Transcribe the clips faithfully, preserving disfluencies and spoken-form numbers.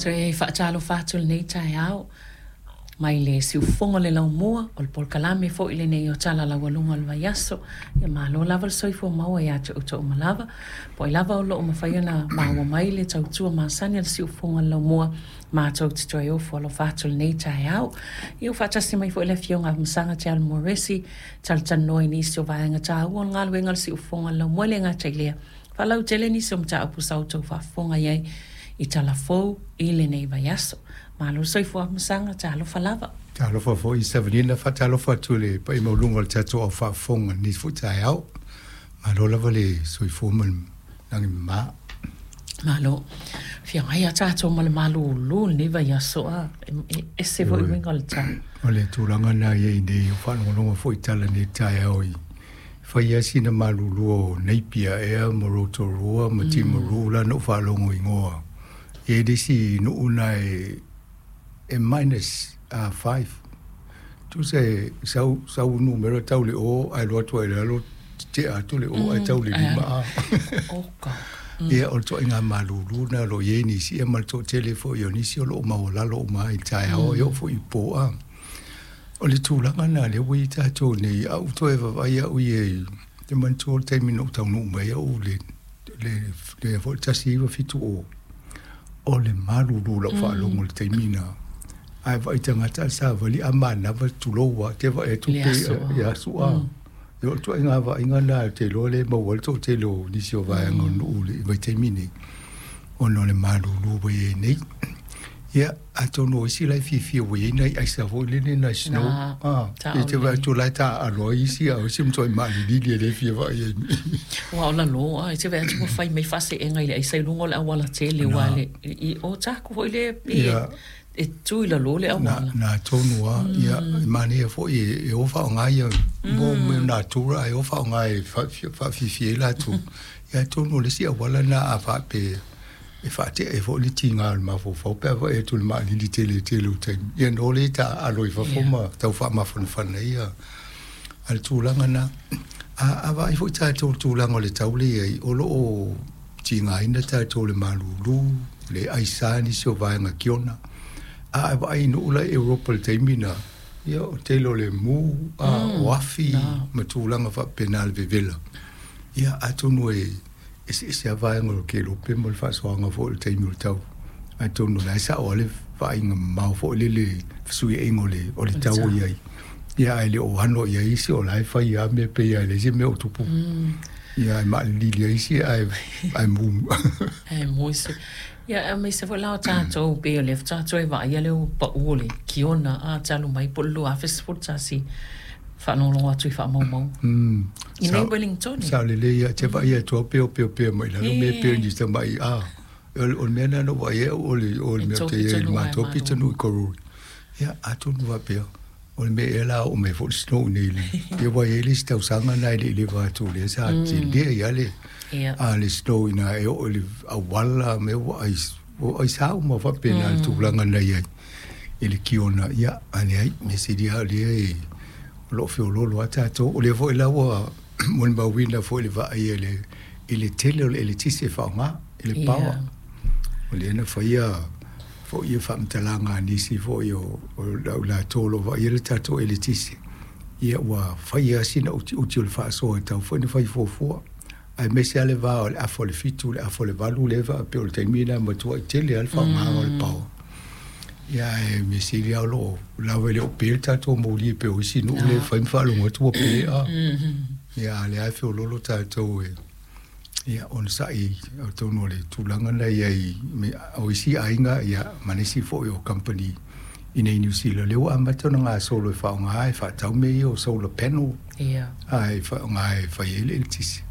Toe faatalofa atu lenei taeao mai le siufofoga o le laumua o le polokalame foi lenei o Tala Laualuga o le Vaiaso. Ia malo lava le soifua maua ia te outou uma lava. Po o ai lava o lo o mafai ona maua mai le tautua masani a le siufofoga o le laumua, matou te toe ofo alofa atu lenei taeao. Ia ua faatasi mai foi le Afioga a Masaga Te Moresi, talatalanoa i nisi o vaega taua o le galuega a le siufofoga o le laumua. E le gata i lea, faalautele nisi o mataupu sa outou faafofoga i ai i tala fou i lenei vaiaso. Malo le soifua Masaga, talofa lava. Talofa foi Savanina, faatalofa atu i le paia maualuga o le tatou au faafofoga i lenei foi taeao. Malo lava le soifua ma le lagi mama. Malo. Feagai a tatou ma le malūlū lenei vaiaso a. E ese foi uiga o le tau. O le tulaga na i ai nei, o faalogologo foi i tala nei taeao i fai lava sina malūlū o Napier ea ma Rotorua ma Timaru la na ou faalogo igoa. E i ai le isi nuu na e e minus uh, five. Tusa e sau, sau numera tau le o, ae alu atu ai i lalo, tea atu le o, ae tau le lima a. Oka. Ia, o le ituaiga malūlū na o lo o i ai nisi, ia ma le toatele foi o nisi o lo o maualalo uma ai i le taeao, e oo foi i po a. O le tulaga na lea ua i ai tatou nei, a ou toe vaavaai au ia i te manatua le taimi na ou taunuu mai ai au le, le, le foi le tasi iva fitu o, o le malūlū lau faalogo i le taimi na. Ae vaai tagata a le savali a manava tulou a te vaai atu Le pe aso. i aso a. Ia o le ituaiga vaaiga na te iloa le maua ai le toatele o nisi o vaega o nuu i le vaitaimi nei, ona o le malūlū ua i ai nei. Ia, atonu o isi la e fiafia ua i ai nai aisa foi lele nai snow. Na, Ah, sao e te vaai lelei. atu la e taaalo ai isi, a o isi e matuai maalilili e le fia vaai ai. Ua o lalo a, e te vaai atu ua fai mai faaseega i le aisa i luga o le auala tele ua Na. le i o taku foi le pe Ia. e tu i lalo le Na, auala. na tonu a, ia, e manaia foi e, e o faaaoga ia mo mea natura ae o faaaoga e faafiafia ai latou. Ia atonu o le isi auala na a faapea e faatea ai foi le tiga o le mafaufau pe a vaai atu i le maalili tele tele o taimi. Ia no le taaalo i fafo ma tau faamafanafana ia a le tulaga na. A, a vaai foi tatou i le tulaga o le tau lea i ai, o lo o tigaina tatou i le malūlū, le aisa nisi o vaega kiona. A e vaai i nuu la i Europa i le taimi na, ia o tele o le mu, a, o afi, Na. ma tulaga faapena le vevela. Ia, atonu e eseese lava vaega o le kelope ma le faasoaga foi o le taimi o le tau. Atonu o la e sao lava le vaaiga mamao foi lele fesuiaiga o le, o le tau o i ai. Ia, ae le o ano i ai isi o la e fai lava mea pei lava e leai se mea o tupu. Ia, ae maalilili ai isi ae, ae mu. E mo se. Ia, aemaise foi la o tatou pei o lea faatoa toe vaaia le pau o le kiona a talu mai po o le lua afe sefulu tasi faalogologo atu i faamaumauga. Mm. I nei Sao- Wellington. Sao lelei ia te vaai atu au peo peo pea mai lalo mea peo ni tamai a. O le o le mea na na vaai ai au o le o le E mea tō te i ai pitonuu ai matou malo. pitonuu i Karori. Ia atonu faapea. O le mea ea la oo mai foi le snow nei le. Ia ua i ai le isi tausaga na e le i leva atu lea sa tele ai le Ia. a le snow ina e oo i le auala mea ua ai ua ai sa uma faapena le tulaga na i ai i le kiona. Ia a leai mea sili lava lea e o lo o feoloolo lava tatou. O lea foi la ua molimauina foi le vaai i le i le tele o le eletise e faaaoga i le power. Ia. O lea na faia foi ia faamatalaga a nisi foi o o lau latou o lo o vaaia le tatou eletise. Ia ua faia sina utiuti o le faasoa e tatau foi ona fai fuafua. Aemaise lava le va o le afa o le fitu le afa o le valu lea e faapea o le taimi lena e matuai tele lava le faaaogaga o le power. Ia ae mea sili lava o lo o lava e le o pe le tatou moli e pei o isi nuu lea e fai ma faalogo atu ua pe a. Ia a o lea e feoloolo tatou e ia onosai atonu o le tulaga na i ai me- o isi aiga ia ma nisi foi o company i nei New Zealand lea ua amata ona gasolo e faaaoga e faatau mea ia o solar panel Ia. a e faaaoga e fai ai le eletise.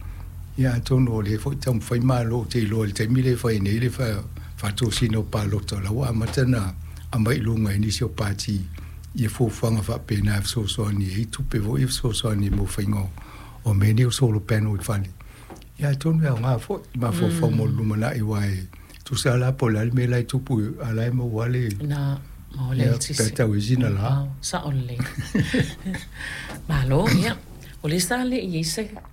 Ia atonu o lea foi taumafai malo ou te iloa i le taimi lea e fai nei le fa- faatosina o palota o la ua amata na aumai i luga i nisi o pati ia fuafuaga faapena e fesoasoani ai tupe foi e fesoasoani mo faiga o o mea nei o solar panel i fale. Ia atonu e aoga foi mafaufau mo le lumanai aua e tusa la po o le a le mea la e tupu a o la e maua le Na ma o le ia eletise. pe tau i sina la. Sao lelei. Malo, ia. O le sa le i ai se